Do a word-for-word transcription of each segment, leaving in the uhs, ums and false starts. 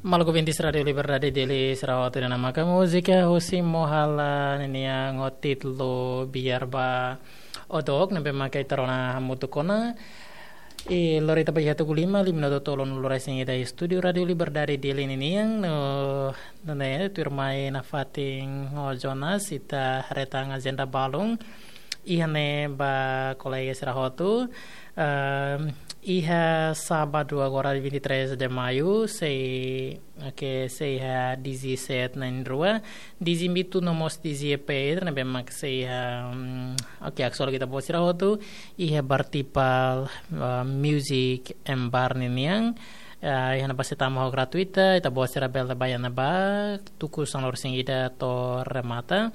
Maluk ouvintes Rádiu Liberdade Dili sira hotu, ida-ne'e maka múzika husi Mohala ninian ho títulu Biar Ba Odok, ne'ebé maka ita rona hamutuk ona. I lori ita ba iha tuku lima, lima minutu tolunulu-resin-ida iha estúdiu Rádiu Liberdade Dili ninian, no, no ne'e, tuirmai nafatin ho Jonas, ita haree tan ajenda balun iha ne'e ba kolega sira hotu. Ehm, iha sábadu agora vinte e três de maio, sei, oke, sei iha D J set na'in-rua, D J Mitu no mós D J Pedro, ne'ebé mak sei iha, mm, oke, haksolok ita-boot sira hotu iha Bar Tipal, eh, Music and Bar ninian. Eh, iha ne'ebá sei tama ho gratuita, ita-boot sira bele bá iha ne'ebá, tuku sanulu-resin-ida to'o remata.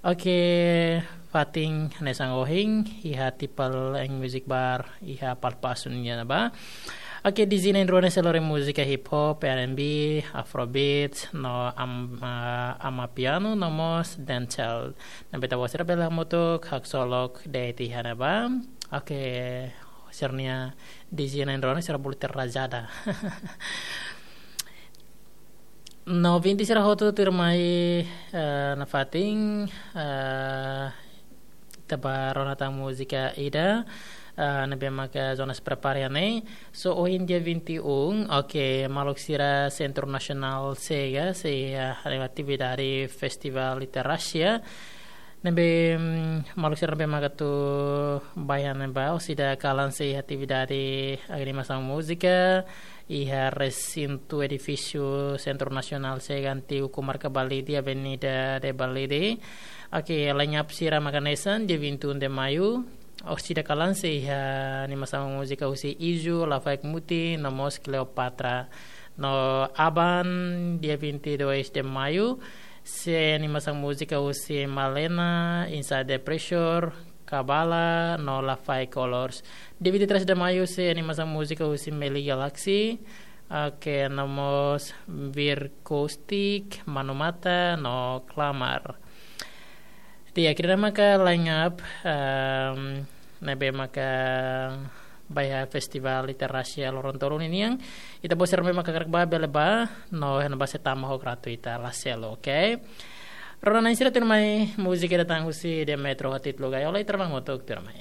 Oke, fatin hanesan ohin, iha Tipal and Music Bar, iha Palpasu nian ne'ebá. Oke, D J na'in-rua ne'e sei lori múzika hip hop, R and B, Afrobeats, no am-, ah, amapiano, no mós dancehall. Ne'ebé ita-boot sira bele hamutuk haksolok de'it iha ne'ebá. Oke, sira-nia D J na'in-rua ne'e sira bolu terrajada. No, ouvinte sira hotu, tuirmai, eh, nafatin, eh, ita bá rona tan múzika ida, eh, ne'ebé maka Jonas prepara iha ne'e. So, ohin dia vinte e um, oke, maluk sira Sentru Nasionál Sega, sei, eh, haree atividade Festival Literasia. Ne'ebé, mm, maluk sira ne'ebé maka atu bá iha ne'ebá, orsida kalan sei iha atividade animasaun múzika, iha resintu edifísiu Sentru Nasionál Sega, antigu Komarka Balide, Avenida de Balide. Oke, line up sira mak hanesan, dia vinte e um de maio, orsida kalan sei iha animasaun múzika husi Izu, Lafaek Muti, no mós Cleopatra. No aban, dia vinte e dois de maio, sei animasaun múzika husi Malena, Inside the Pressure, Kabala, no Lafaek Colors. Dia vinte e três de maio, sei animasaun múzika husi Meli Galaxy, oke, no mós Vircoustic, Manu Mata, no Clamar. Di'ak, ida-ne'e maka line up, ehm, ne'ebé maka ba iha Festival Literasia loron tolu ninian. Ita-boot sira ne'ebé maka hakarak bá bele bá, no iha ne'ebá sei tama ho gratuita, la selu, oke? Rona na'in sira, tuirmai múzika ida tan husi Demetro ho títulu Gaiola, ita rona hamutuk, tuirmai.